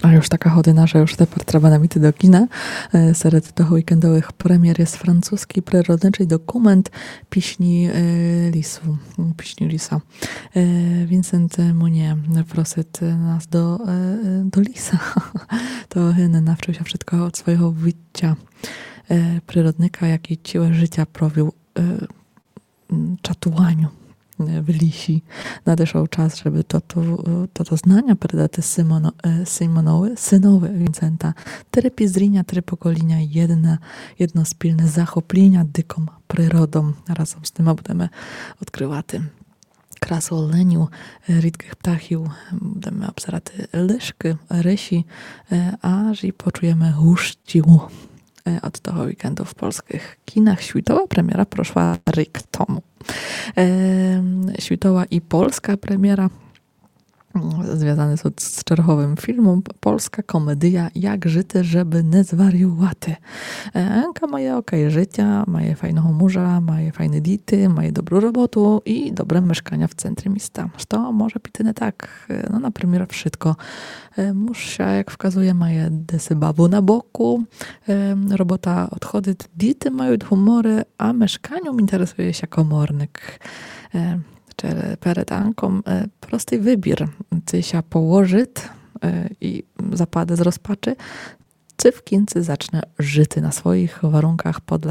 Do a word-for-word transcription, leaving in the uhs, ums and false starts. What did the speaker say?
А уж така година, же уж тепер треба нам іти до кіна. Е, серед того вікендовых премєр єст французкій природничый документ Пісні, е, лісу. Пісні ліса. Е, Вінсент Мунє просить нас до, е, е, до ліса. То він навчыв ся вшытко од свого вітця, е, природника, якій ціле жытя провів, е, м, чатуваню, е, в лісі. Надышов час, жебы тото, е, тото знаня передати Симоно-, е, Симонови, сынови Вінсента. Три пізріня, три поколіня, єдне, єдно спільне захопліня диком природом. Разом з нима будеме одкрывати красу оленів, е, рідкых птахів, будеме обзирати лишкы, рысі, е, аж і почуєме гущів, е, од того вікенду в польскых кінах. Світова премєра прошла рік тому. Е, світова і польска премєра, м, звязаны сут з черговым філмом. Польска комедия Як жыти, жебы не зваріювати. Е, Анка має окей жытя, має файного мужа, має файны діти, має добру роботу і добре мешканя в центрі міста. Што може піти не так? Е, но, например, вшытко. Е, муж ся, як вказує, має десь бабу на боку, е, робота одходит, діти мают гуморы, а мешканьом інтересує ся коморник. Е, че-, перед Анком, е, простый выбір. Ци ся положит, е, і западе з розпачы, ци в кінци зачне жыти на своїх варунках подле